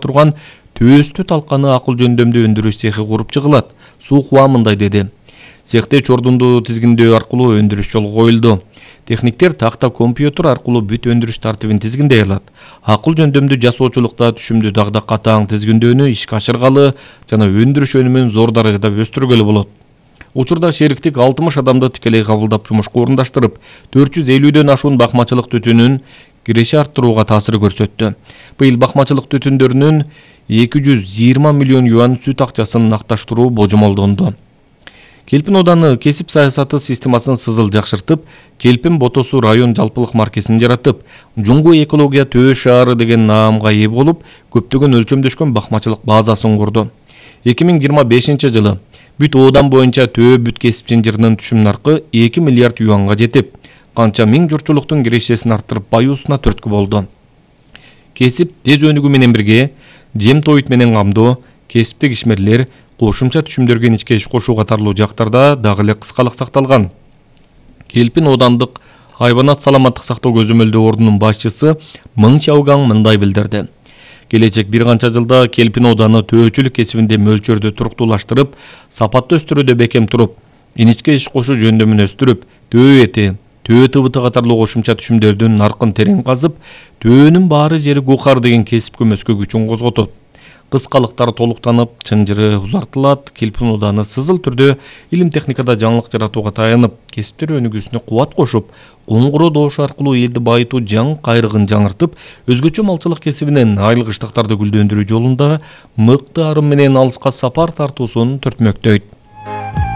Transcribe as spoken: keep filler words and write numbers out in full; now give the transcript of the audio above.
турган Төстү талканы акыл жөндөмдүү өндүрүш цехи куруп чыгылат. Сухва мындай деди. Цехте чордунду тизгиндөө аркылуу өндүрүш жолго коюлду. Техниктер такта компьютер аркылуу бүт өндүрүш тартибин тизгиндей алат. Акыл жөндөмдүү жасоочулукта түшүмдү дагы катаң тизгиндөөнү ишке ашыргалы жана өндүрүш өнүмүн зор даражада өстүргөлү болот. Учурда шериктик алтымыш адамды тикелей кабылдап жумушка орундаштырып, төрт жүз элүүдөн ашуун бакмачылык түтүнүн киреше арттырууга таасир көрсөттү. Быйыл бакмачылык түтүндөрүнүн эки жүз жыйырма миллион юан сүт акчасын акташтыруу божомолдонду. Келпин ооданы кесип саясаты системасын сызыл жакшыртып, Келпин Ботосу район жалпылык маркесин жаратып, Жуңгу экология Төө шаары деген наамга ээ болуп, көптөгөн өлчөмдөшкөн бакмачылык базасын курду. эки миң жыйырма бешинчи жылы бүт оодан боюнча Төө бүт кесип жынжырынын түшүм наркы эки миллиард юанга жетип, канча миң журтчулуктун кирешесин арттырып баюусуна түрткү болду. Кесип тез өнүгүү менен бирге жем тоют менен камдоо, кесиптик ишмерлер кошумча түшүмдөргө ичке иш кошуу катарлуу жактарда дагы эле кыскалык сакталган. Келпин оодандык хайванат саламаттык сактоо көзөмөлдөө ордунун башчысы Мың Чаугаң мындай билдирди. Келечек бир канча жылда Келпин ооданы төөчүлүк кесибинде мөлчөрдү туруктуулаштырып, сапаттуу өстүрүүдө бекем туруп, иничке иш кошуу жөндөмүн өстүрүп, төө эти, төө тыбыты катарлуу кошумча түшүмдөрдүн наркын терең казып, төөнүн баары жери Гухар деген кесип көмөскө күчүн козготот. Кыскалыктар толуктанып, чынжыры узартылат, Келпин ооданы сызыл түрдө илим техникада жаңылык жаратууга таянып, кесиптер өнүгүүсүнө кубат кошуп, коңгуроо добушу аркылуу элди байытуу жаң кайрыгын жаңыртып, өзгөчө малчылык кесибинен айыл кыштактарды гүлдөндүрүү жолунда мыкты арым менен алыска сапар тартуусун түртмөктөйт.